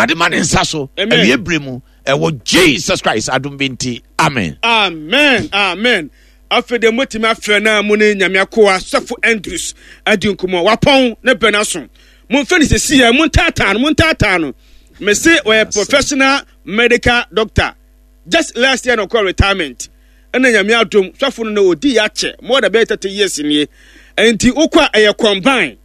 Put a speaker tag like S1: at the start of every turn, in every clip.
S1: Awurade ma ne nsa so awie bere mu ɛwɔ Jesus Christ adom bi nti amen.
S2: Amen amen afei deɛ motumi afrɛ no a mo ne nyame akoa sɔfo Andrews adi nkɔmmɔ wapɔn ne bɛn aso momfɛ no sɛsi ɛ montaataa no montaataa no mese ɔyɛ professional medical doctor just last year na ɔkɔ retirement ɛna nyame adom sɔfo no na ɔdi yɛ akyɛ more than bɛyɛ 30 years nie nti wokɔ a ɛyɛ combine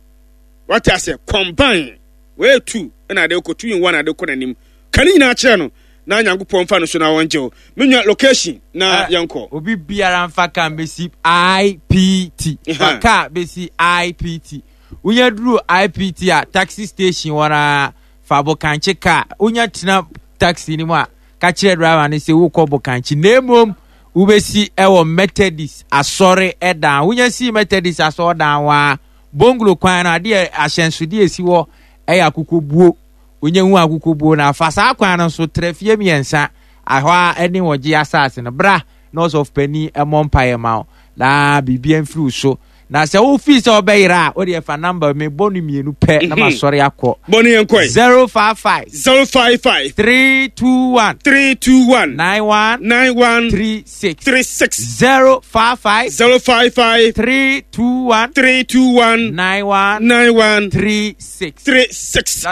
S2: wate ase combine Wei tu na ade kɔ, two in one ade kɔ n'anim. Ka ne nyinaa kyerɛ no na Nyankopɔn mfa no so na ɔngye wo. Me nua location na eh, yɛnkɔ.
S3: Obi biara mfa kaa mbɛsi IPT. Fa kaa bɛsi IPT. Wonya duru IPT a taxi station hɔ na fa bokankye kaa. Wonya tena taxi no mu a ka kyerɛ driver no sɛ wokɔ bokankye na mmom wobɛsi ɛwɔ Methodist asɔre ɛdan. Wonya si Methodist asɔre dan hɔ a Bonglo kwan no, adeɛ ahyɛnsodeɛ esi hɔ yɛ akokobuo. Wonya hu akokobuo no a, fa saa kwan no so tra fie mmiɛnsa, ɛhɔ ara ne wɔgye asase no. Bra na ɔsɔfo panin mmɔ mpaeɛ ma wo na biribiara mfiri wo so. Na sɛ wofii sɛ wobɛyera a, wodeɛ fa namba mi bɔ no mmienu pɛ na mhm. masɔre akɔ.
S2: Bɔ no yɛn kɔe.
S3: 055
S2: 055
S3: 321
S2: 321
S3: 91
S2: 91
S3: 36
S2: 36
S3: 055
S2: 055
S3: 321
S2: 321
S3: 91
S2: 91
S3: 36
S2: 36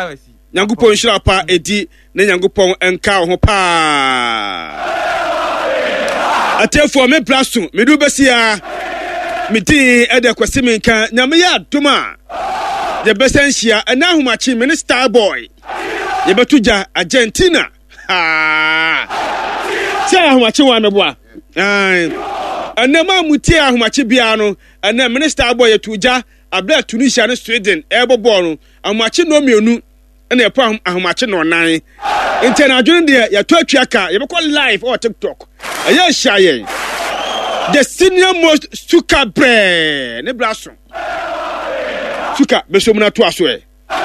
S2: Nyankopɔn nhyira pa edi na Nyankopɔn nka wo ho paa. Atiefoɔ me bra so mede wo bɛsi a me din ɛde Kwasi Menka. Nyame yɛ adom a yɛbɛsan hyia ɛna ahomakye me ne Star Boy yɛbɛto gya Argentina. Sɛ ahomakye wɔn amɛboa. Ɛnɛ maa mu tie ahomakye biara no ɛnɛ me ne Star Boy yɛto gya abere a Tunisia ne Sweden ɛrebɔ bɔɔl no ahomakye nnɔmmienu ɛna ɛpɔ ahomakye nnɔnan nti anadwo no deɛ yɛtɔ atwa ka yɛbɛkɔ live ɔwɔ tiktok ɛyɛ ahyia yɛn the senior most suka brɛɛ ne bra so suka bɛsɔ mu no atoa so ɛ.